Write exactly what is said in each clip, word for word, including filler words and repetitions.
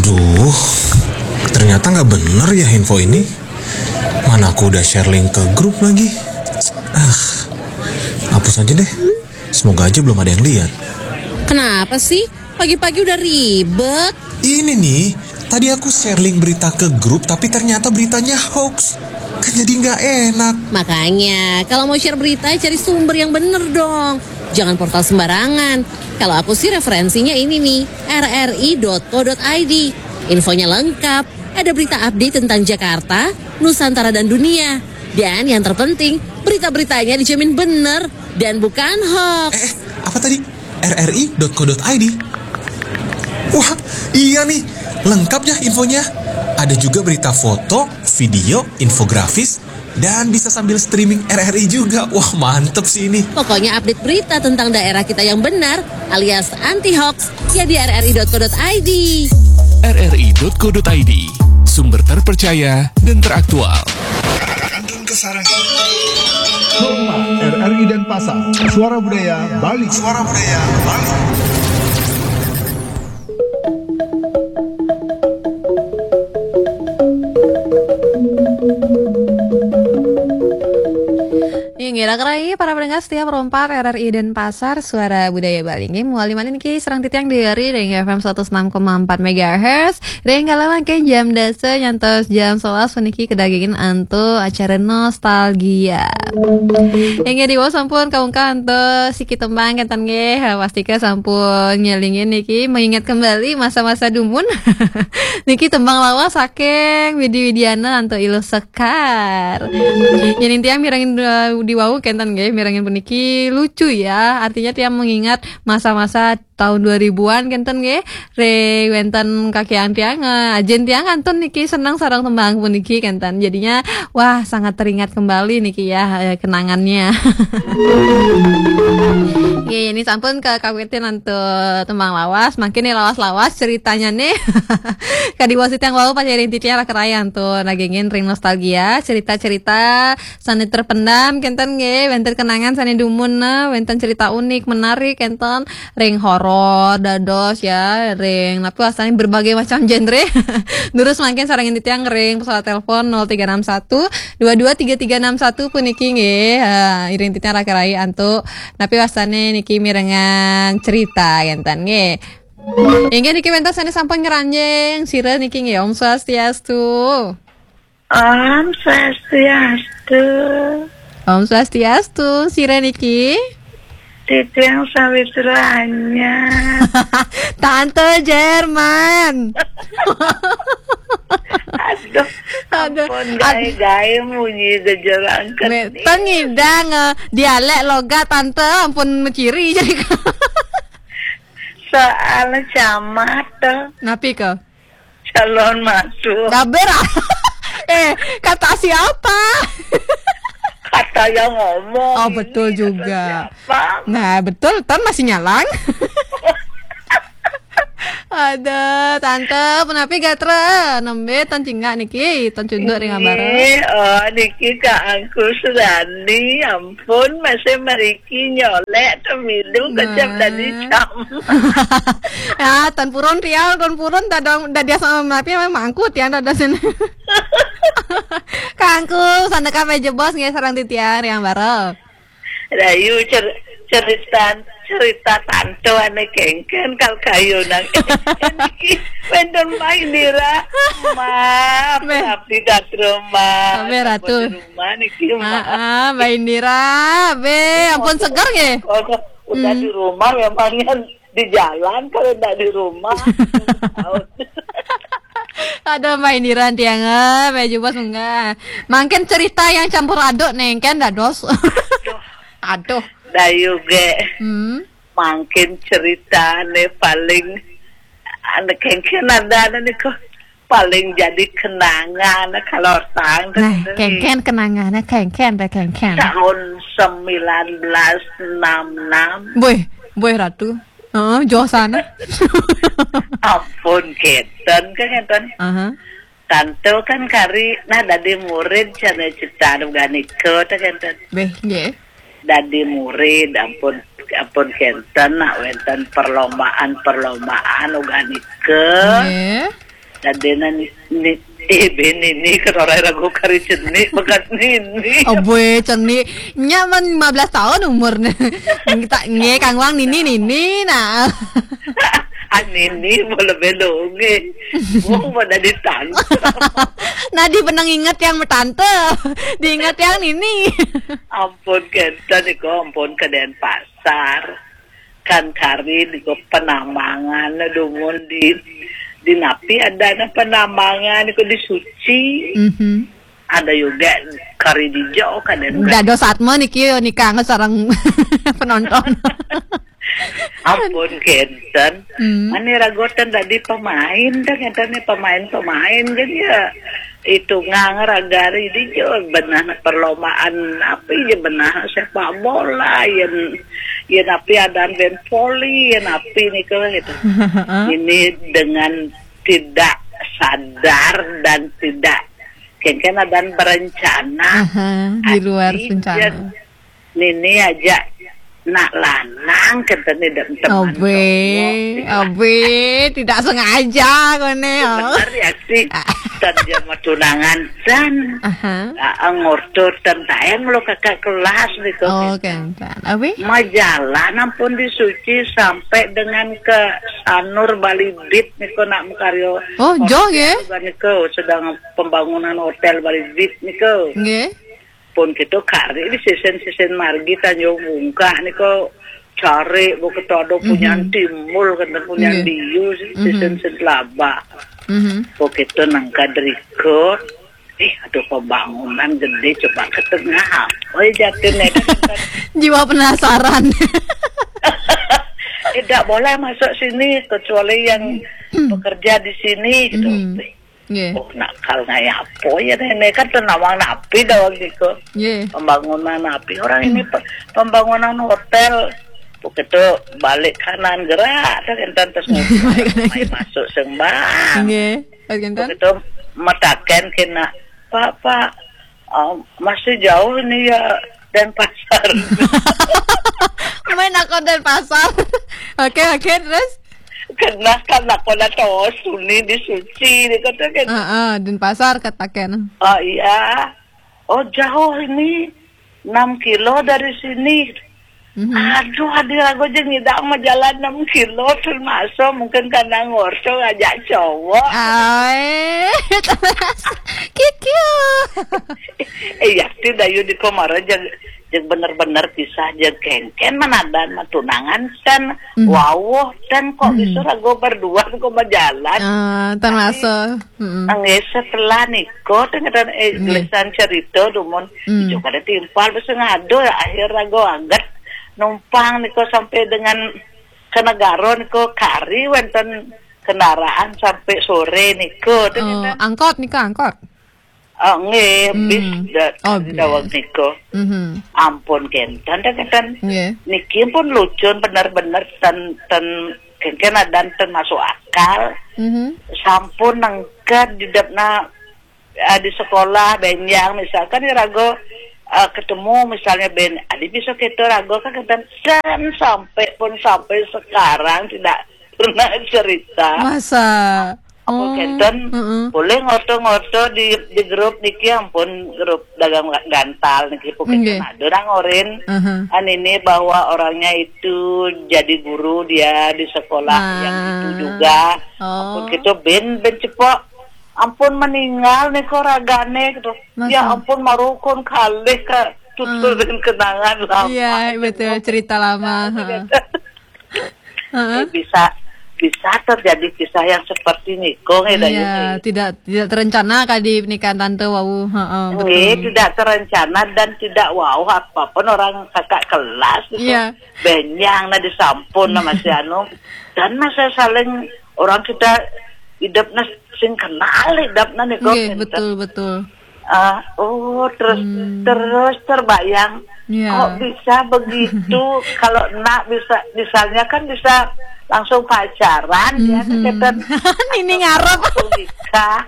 Duh, ternyata nggak bener ya info ini. Mana aku udah share link ke grup lagi. Ah, hapus aja deh. Semoga aja belum ada yang lihat. Kenapa sih? Pagi-pagi udah ribet. Ini nih, tadi aku share link berita ke grup, tapi ternyata beritanya hoax. Kan jadi nggak enak. Makanya, kalau mau share berita, cari sumber yang bener dong. Jangan portal sembarangan. Kalau aku sih referensinya ini nih, R R I dot co dot I D. Infonya lengkap, ada berita update tentang Jakarta, Nusantara dan dunia. Dan yang terpenting, berita-beritanya dijamin bener dan bukan hoax. Eh, eh, apa tadi? R R I dot co dot I D. Wah, iya nih, lengkap ya infonya. Ada juga berita foto, video, infografis, dan bisa sambil streaming R R I juga. Wah, mantep sih ini. Pokoknya update berita tentang daerah kita yang benar alias anti hoax ya di R R I dot co dot I D. R R I dot co dot I D, sumber terpercaya dan teraktual. Kantun Kesarangan. Hormat R R I Denpasar, Suara Budaya Bali. Suara Budaya Bali. Inggih, rakan-rakan para pendengar setia Pro empat R R I Denpasar, Suara Budaya Bali. Inggih, muali malih niki sareng titiang Dewi Ari ring F M seratus enam koma empat megahertz. Ring kala mangkin jam dasa nyantos jam sebelas puniki kadagingin antuk acara nostalgia. Inggih, diwau sampun kaungkah antuk siki tembang kenten nggih. Pastika sampun ngelingin niki, mengingat kembali masa-masa dumun. Niki tembang lawas saking Widi Widiana antuk Iluh Sekar. Yen tiang mirengin, eh, diwau kenten nggih, mirengin puniki lucu ya. Artinya tiang mengingat masa-masa tahun dua ribuan kenten nggih. Ring wenten kakiang tiang, eh, ajen tiang kantun niki seneng sareng tembang puniki kenten. Jadinya, wah, sangat teringat kembali niki ya, eh, kenangannya. Nggih, ini sampun kakawitin antuk tembang lawas, mangkin nih lawas-lawas ceritanya nih. Kadi wasit yang wau pacarin titiang rakan-rakan antuk nagingin ring nostalgia, cerita-cerita sane terpendam kenten nggih, wenten kenangan sane dumun, nah, wenten cerita unik, menarik kenten, ring horor dados ya, ring napi wastane berbagai macam genre. Durus mangkin sarengin titiang ring pesawat telepon nol tiga enam satu dua dua tiga tiga enam satu puniki nggih. Ha, iring titiang rakan-rakan antuk napi wastane niki mirengang cerita kenten nggih. Inggih niki wenten sane sampun ngranjing sira niki nggih. Om Swastiastu. Om Swastiastu. Om Swastiastu, sira niki? Titiang Sawitra Anyar. Tante Jerman. Aduh, aduh, ampun, aduh. Gae-gae munyi gejerang. Ten ngidang, eh, dialek logat tante ampun meciri jadi. Soal camat to. Napi ke? Calon masuk. Gaber ah. Eh, kata siapa? Kata yang ngomong. Oh, betul ini, kata juga. Siapa? Nah, betul, Tan masih nyalang. Ada tante, penapi gatra, nembe tan cingak niki, tan cunduk ring ambara. Niki, oh, niki Kak Angku Surani, ampun, masih meriki nyolek temilu kecap. Nah. Tadi cam. Ya, tan purun tiang, tan purun dadong, dadia sama menapi memang angkut ya, dada sini. Kak Angku, sandeka meja bos nggih sareng titiang ring ambara. Rayu cer-, cerita, cerita tantu ane kengken kal kayu nang. Niki wenten Mbak Indira. Ma, Mbak. Abdi datro, Ma. Mbak Ratu. Sampun di rumah niki, Ma. Ah, ah, Mbak Indira, be, ampun seger nggih. Kok udah di rumah memangnya di jalan, kalau ndak di rumah. Aduh, Mbak Indira tiang, eh, Mbak Jubos munggah. Mangkin cerita yang campur aduk nengken dados. Aduh. Dayu ge. Hmm. Mangkin ceritane paling ane kengken ada ane niko paling jadi kenangan kalau tang. Nah, kengken kenangan, kengken, kengken. Tahun sembilan belas enam enam. Boy, boy Ratu. Heeh, jauh sana. Ampun, kenten, kan, kenten. Aha. Tantu kan kari, nah, dadi murid, cara cerita anu ganika, ta, kenten. Beh, nggih. Dadi murid, ampun, ampun kenten, nak wenten perlombaan-perlombaan, uga nika. Nggih. Dadena ni, ni, eh, ben Nini, kan orang ragu kari ceni, bekas Nini. Abue, ceni. Nya man lima belas tahun umurnya. Kita nge kangwang Nini, Nini, nah. Ah, Nini, boleh belonge. Wong pada di tante. Nah, di penang inget yang tante. Diinget yang Nini. Ampun, kenten iko, ampun, ke Denpasar. Kan kari di penambangan, dumun di, di napi ada na penambangan, iko di Suci. Mhm. Ada juga kari di jauh, kan, ada juga. Dados atma niki, nikang sareng penonton. Ampun, kenten. Hmm. Mani ragotan tadi pemain, dah kenten ni pemain-pemain, jadi ya, itu ngangragari di jauh, benah perlombaan, apa ya, benah sepak bola, yang, yang apa, ada band voli, yang apa ni, kalau gitu. Ini dengan tidak sadar dan tidak, kenten, ada berencana. Aha, di luar rencana. Nini aja nak lanang, kenten, dan teman. Abe, abe, tidak sengaja kone, oh. Bener ya sih. Tan jama tunangan, tan. Aha. Ah, ngorto tan tayang lo kakak kelas niko. Oh, kenten. Abe? Majalan ampun di Suci sampai dengan ke Sanur Balibit niko nak makaryo. Oh, jauh ya? Niko sedang pembangunan hotel Balibit niko. Nggih. Pun kita kari di sisen-sisen margi Tanjung Bungkah niko cari buku todo punya timbul, kenten, punya diu, sisen-sisen laba. Mhm. Pun kita nangka deriko, eh, aduh, pembangunan gede, coba ke tengah. Oh, ya, jatuh nih. Jiwa penasaran. Eh, tidak boleh masuk sini kecuali yang bekerja di sini, gitu. Mhm. Nggih. Oh, nakal ngaya apa ya, nenek, kan tenawang napi dah waktu itu. Nggih. Pembangunan napi. Orang ini pe-, pembangunan hotel. Begitu balik kanan gerak, dah kenten terus. Balik kanan gerak. Masuk sembang. Nggih, kenten. Begitu mataken kena, "Pak, Pak, oh, masih jauh ini ya, Denpasar." Main aku Denpasar. Oke, oke, terus? Kena kan aku nak tahu Suni di Suci, dia kata kan. Ah, ah, Denpasar katakan. Oh, iya. "Oh, jauh ini, enam kilo dari sini." Mhm. Aduh, hadir aku aja ngidang mah jalan enam kilo, termasuk mungkin karena ngorso ngajak cowok. Ai, kikiu. Eh, ya, tidak, yuk, di komara, jeung, jeung bener-bener kisah, jeung kengken, manadan mah tunangan, kan. Mhm. Wawuh, kan, kok bisa rago berdua, kok berjalan. Ah, termasuk. Tapi, mm-mm, nggih, setelah niko, tengah, eh, nggih, gelisan cerita, dumun, mm, ijo kada timpal, bisa ngado, ya, akhir rago aget, numpang niko sampai dengan ke Negara niko, kari wenten kendaraan sampai sore niko, tengah. Oh, angkot niko, angkot? Ah, nggih, bis da-, oh, daweg niko. Mhm. Ampun, kenten, kenten. Nggih. Niki pun lucu, bener-bener ten, ten, kengken adan ten masuk akal. Mhm. Sampun nangked di dapna, ah, di sekolah, benjang, misalkan ya rago, ah, ketemu misalnya ben, adi bisa kita rago kan kenten, dan sampai pun sampai sekarang tidak pernah cerita. Masa? Ampun, oh, kenten, mm-mm, boleh ngoto-ngoto di, di grup niki, ampun, grup dagang gantal niki, pun kenten, nggih, ada orang orin, aha, an ini bahwa orangnya itu jadi guru dia di sekolah yang itu juga. Oh. Ampun, kita ben, ben cepok. Ampun, meninggal nih kok ragane gitu. Masa? Ya ampun, marukun kalih ka tuturin, ah, kenangan lama. Iya, betul, cerita lama, ha. Heeh. Eh, bisa, bisa terjadi kisah yang seperti niko, eh, Dayu, iya, eh, tidak, tidak terencana kadi pernikahan tante wau. Heeh, nggih, betul, tidak terencana dan tidak wau apapun orang kakak kelas gitu. Iya. Benyang na disampun na masih anu. Dan masa saling orang kita hidup na sing kenal hidup na niko. Nggih, kenten. Betul, betul. Ah, oh, terus, hmm, terus terbayang, ya, kok bisa begitu? Kalau nak bisa, misalnya kan bisa langsung pacaran, ya, hmm, kenten. Ini ngarep. Langsung nikah.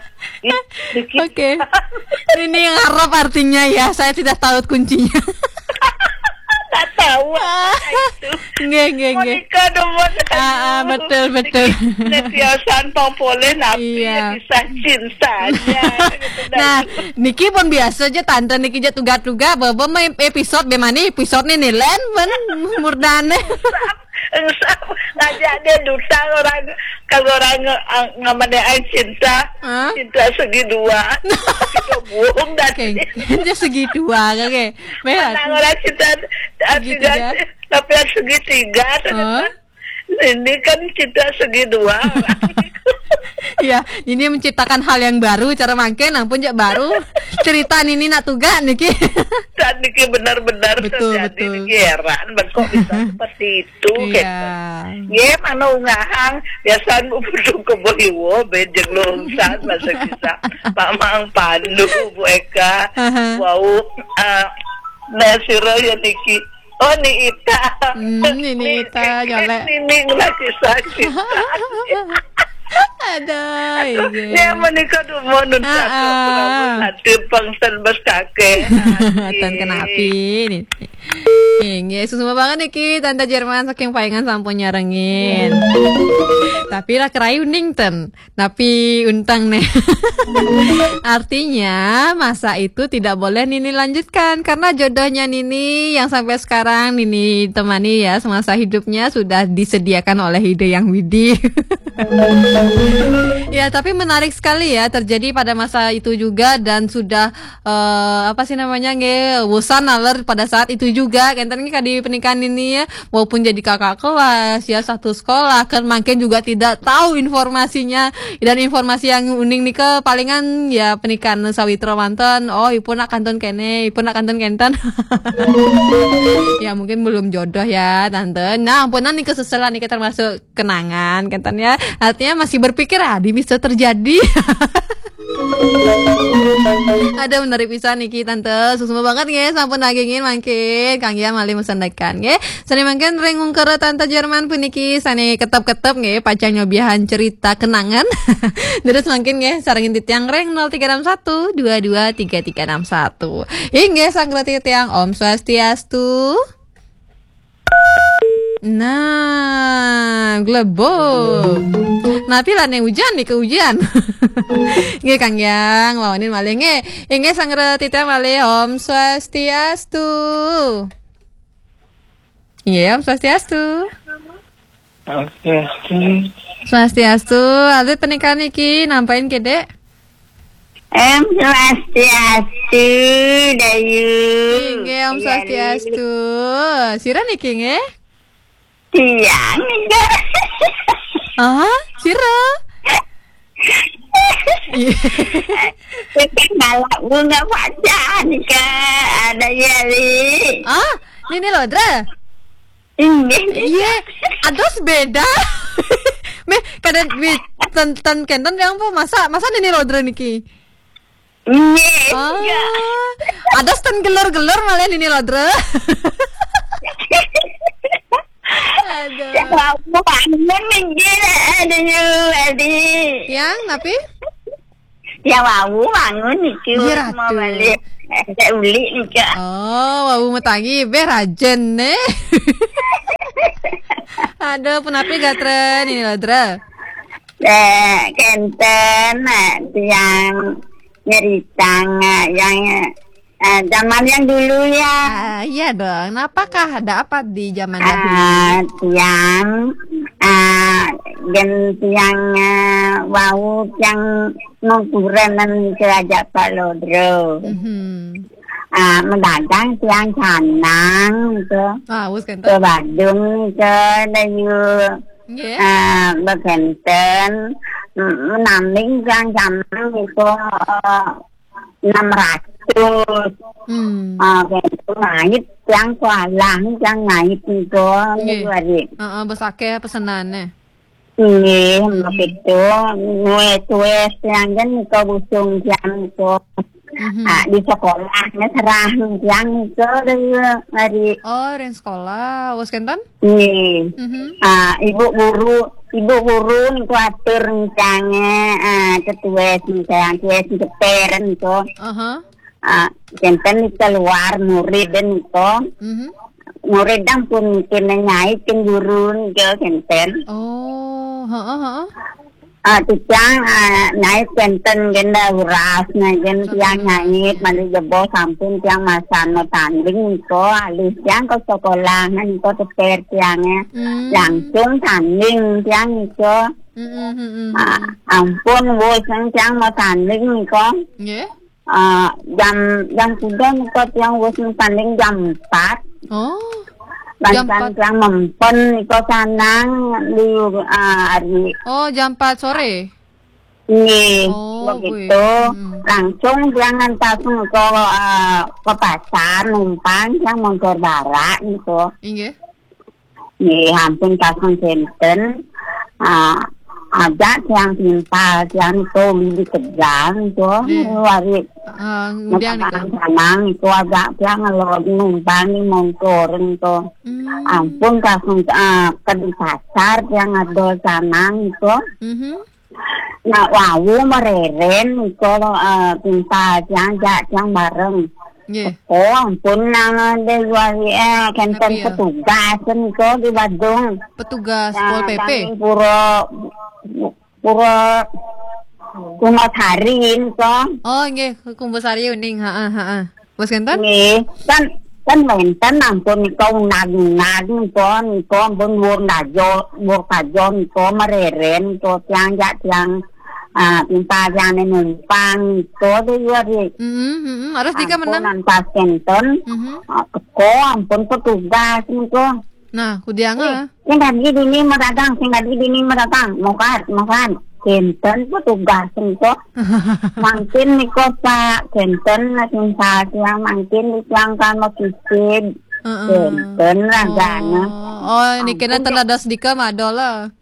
Ih, dikit. Oke. Ini ngarep artinya ya, saya tidak tahu kuncinya. Tak Tahu apa itu? Nggih, nggih, nggih. Monika demen. Ah, ah, betul, betul. Netiasan pang poleh napi Iya. Kisah cintanya. Gitu, dah. Nah, niki pun biasa aja tante niki aja tuga-tuga baba main episode be mana episode nih nih len men murdane. Engsam ngajak dia duta orang, kalau orang nge- ngamane ai cinta, Hah? Cinta segi dua. Kita buang dari Oke, aja segi dua oke. Berat. Nah, orang cinta Segitiga. Tapi yang segitiga. Hah? Ini kan cinta segi dua. Ya, ini menciptakan hal yang baru cara mangke ampun jak baru. Cerita nini nak tuga niki. Dan niki benar-benar Betul, terjadi betul. Niki heran, ben kok bisa seperti itu. Iya. Gitu. Ye, mana ungahang biasaan bubudu kebo hiwo bejeng longsan masa kita Mamang Pandu, Bu Eka. Aha. Wau, eh, Nah, sira ya niki. Oh, ni Ita. Hmm, ni Ita, jolek. Nini lagi sakit. Aduh, iya. Ya, menika dumun nun Ah, ah. Nanti pengsen bes kakek. Tan kenapi ni. Inggih, suksma banget niki Tante Jerman saking Payangan sampun nyarengin. Tapi lah kerai uning ten. Tapi untang nih. Artinya masa itu tidak boleh Nini lanjutkan karena jodohnya Nini yang sampai sekarang Nini temani ya semasa hidupnya sudah disediakan oleh Ide Yang Widi. Ya, tapi menarik sekali ya terjadi pada masa itu juga dan sudah eh, apa sih namanya nggih bosan naler pada saat itu juga kenten nggih kadi pernikahan ini ya walaupun jadi kakak kelas ya satu sekolah kan mungkin juga tidak tahu informasinya dan informasi yang uning nih ke palingan ya pernikahan sawitra manten oh ibu nak kantun kene ibu nak kantun kenten ya mungkin belum jodoh ya tante nah ampunan nih keseselan nih termasuk kenangan kenten ya artinya masih berpikir ah di bisa terjadi ada menarik pisan niki tante suksma banget nggih sampun dagingin mangkin kang ya malih mesendekan nggih sane mangkin ring ungkara tante Jerman puniki sane ketep-ketep nggih pacang nyobiahan cerita kenangan terus mangkin nggih sarengin titiang ring nol tiga enam satu dua dua tiga tiga enam satu inggih sang titiang Om Swastiastu Nah, glebok. Napi lah nih hujan nih ke hujan. Nggih Kang Yang, wawanin malih nggih. Inggih sang titiang malih Om Swastiastu. Iya, Om Swastiastu. Oke. Swastiastu, alit pernikahan iki nampain kedek. Om Swastiastu, Dayu. Inggih, Om Iya, Swastiastu. Sira niki nggih? Tiang, enggak. Ah, sira? Iya. Kita malah bunga pacar nika ada ya, Li. Ah, Nini Lodra. Inggih. Iya, ados beda. Meh kada mi ten ten kenten yang apa masa masa Nini Lodra niki. Inggih. Ah, Enggak. ados ten gelor-gelor malah Nini Lodra. Aduh. Wau bangun niki ada yu, Adi. Yang napi? Ya wau bangun niki Iya, mau Ratu. Balik. Ada uli nika. Oh, wau metangi beh rajen nih. Aduh, penapi gatra Nini Lodra. Eh, kenten, eh, yang nyeritang, eh, yang eh, zaman yang dulu ya. Ah, iya dong. Napakah ada apa di zaman dahulu? Ah, tiang, ah, gen tiang, eh, wau tiang nongkurenan kerajaan Palodro. Mhm. Ah, mendagang tiang canang itu Ah, wis ke kenten. Badung ke Dayu. Nggih. Ah, begenten, mm, menaming tiang canang itu eh, enam ratus. Hmm. Ah, gitu. Ngait tiang kualang, tiang ngait itu. Nggih. Niku hari. Heeh, bes akeh pesenane. Nggih, begitu. Wes-wes tiang kan niku busung tiang niku. Mhm. Ah, di sekolah ngeserah tiang niku dari hari. Oh, ring sekolah. Wes kenten? Nggih. Mhm. Ah, ibu guru, ibu guru niku atur tiange, ah, ketua tiang, ketua keter niku. Aha. Ah, kenten keluar murid niku. Mhm. Murid dang pun kena nyai cemburu nggih kenten. Oh, heeh, heeh. Ah, titiang, ah, nyai kenten genda uras na gen tiang nyai mali jebos sampun tiang masan no tanding niko alih tiang ke sekolah niko teper tiang ya. Hmm. Langsung tanding tiang niko. Hmm, hmm, hmm, hmm. Ah, ampun wis tiang mau tanding niko. Nggih. Ah, jam, jam tiga niko tiang wis tanding jam empat. Oh. Jam empat. Tiang mempen niko sanang di, ah, hari. Oh, jam empat sore. Nggih, oh, begitu. Kuwi. Hmm. Langsung tiang ngantas niko, ah, ke pasar numpang tiang montor barak niko. Inggih. Nggih, ampun pasang kenten. Ah, ajak tiang timpal, tiang itu di Tegal itu. Nggih. Wari. Ah, ngudian niko. Sanang itu ajak tiang ngelod numpang di montor itu. Hmm. Ampun pasang, ah, ke di pasar tiang ada sanang itu. Mhm. Nak wau mereren niko, eh, timpal tiang ajak tiang bareng. Nggih. Oh, ampun nang de jual, eh, kenten. Tapi ya. Petugas niko di Badung. Petugas Pol P P. Kami pura, pura Kumbasari niko. Oh, nggih, Kumbasari uning, heeh, heeh. Bos kenten? Nggih, kan, kan wenten ampun niko unag-unag niko, niko ampun wur najo, wur kajo niko mereren niko tiang jak tiang, ah, timpal tiang ne numpang niko de ya, Ri. Mm-mm, mm-mm. Harus tiga menang. Ampun, pas kenten. Mhm. Ah, teko ampun petugas niko. Nah, kudiang, eh, ah. Sing tadi dini mau dagang, sing tadi dini mau dagang, mau kan, mau kan. Kenten petugas niko. Mangkin niko, Pak, kenten nak minta tiang, mangkin tiang kan mau kisid. Heeh. Kenten ragane. Oh, oh, niki kena ampun, tenadas dika madol lah.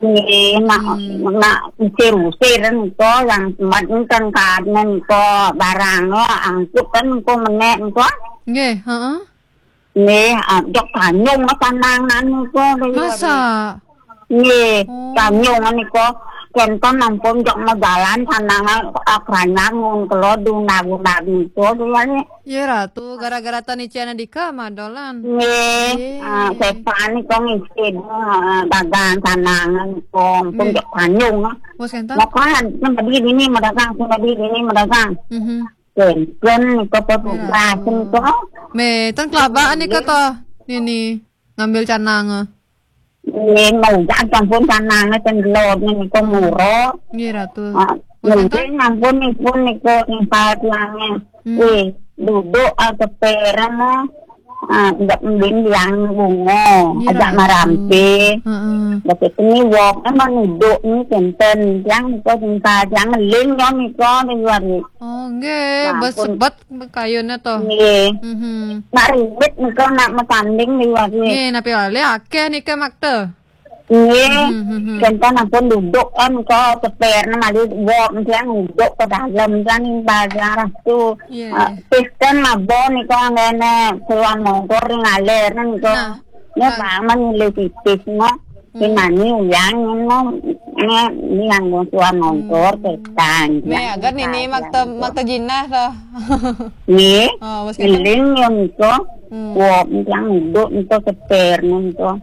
Nggih, nak, hmm, nak usir-usir niko yang sempat nenten kan niko barang lo, angkut kan niko menek niko. Nggih, heeh. Nggih, ah, jok tanyung mas tanangan niko. Masa? Nggih, oh, tanyung niko. Kenten ampun jok majalan tanangan, ah, keranyang ngun kelo duna-guna niko, dia ni. Iya, Ratu, gara-gara tani ciana dika madolan. Nggih, nggih. Ah, sepan niko ngisi, ah, dagang tanangan niko, ampun, nggih, jok tanyung, ah. Bos kenten? Makan, sing tadi dini mau dagang, sing tadi dini mau dagang. Mhm. Kenten niko petugas niko. Me, ten kelabaan niko to, nini ngambil canang. Nggih, mau jak ampun canang ten gelor niko muro. Nggih, Ratu. Ah, bos kenten? Mungkin ampun nipun niko timpal tiange. Hmm. Wih, duduk, ah, kepereng, ah. Ah, ndak mbin yang bungo, nggih, ajak Ratu. Marampe. Heeh. Begitu ni wok, emang duduk ni kenten. Tiang niko timpal tiang ngeling yo niko di luar ni. Oh, nggih, nah, bes-, ampun, bet kayune to. Nggih. Mhm. Nak ribet niko nak metanding di luar ni. Nggih, napi wali akeh niki makte. Nggih. Mhm, mhm. Kenten ampun duduk kan ke teper, nah, mali wok tiang duduk ke dalam kan, timpal tiang tu. Iya. Ah, pisten mabon niko anggene keluar montor ngalir niko. Nah. Nya, ah, paman milih tipis, no. Hmm. Simani uyang, no. Nya, ini yang musuhan montor, hmm, petang. Me, ya, agar nini makta, makta jinah, toh. Nggih. Oh, bos kenten? Ngeling, ya, niko. Hmm. Wah, yang hidup, niko seper, niko.